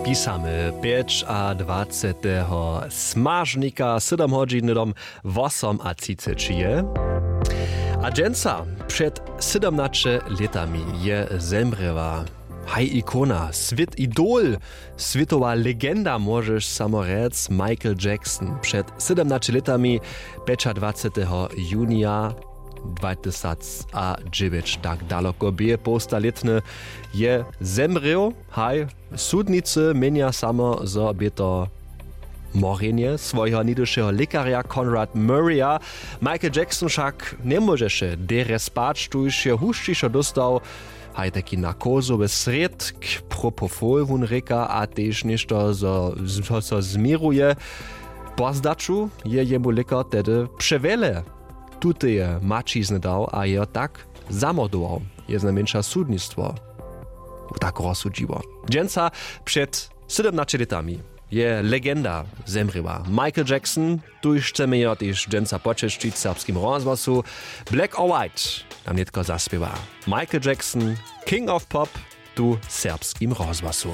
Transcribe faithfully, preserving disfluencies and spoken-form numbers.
Pisamy pjećadwaceteho smažnika sydom hodźin hnydom wosom a třiceći je. A dźensa před sydomnaće lětami je zemrěła haj ikona, swět idol, swětowa legenda, móžeš samo rjec, Michael Jackson. Před sydomnaće lětami, pjećadwaceteho junija dwatysacadźewjeć, tak daloko bě połsta lětny, je zemrěł. Haj, sudnicy měnja samo, zo bě to morjenje swojeho něhdyšeho lěkarja Conrad Murraya. Michael Jackson wšak njemóžeše derje spać, tuž je hušćišo dóstał haj taki narkozowy srědk, propofol wón rěka, a tež něšto zo, zo so změruje. Po zdaću je jemu lěkar tehdy přewjele tuteje maćizny dał a jeho tak zamordował. Je znajmjeńša sudnistwo tak rozsudźiło. Dźensa před sydomnaće lětami je legenda zemrěła, Michael Jackson. Tuž chcemy jeho tež dźensa počesćić w serbskim rozhłosu. Black or White nam nětko zaspěwa Michael Jackson, King of Pop, tu w serbskim rozhłosu.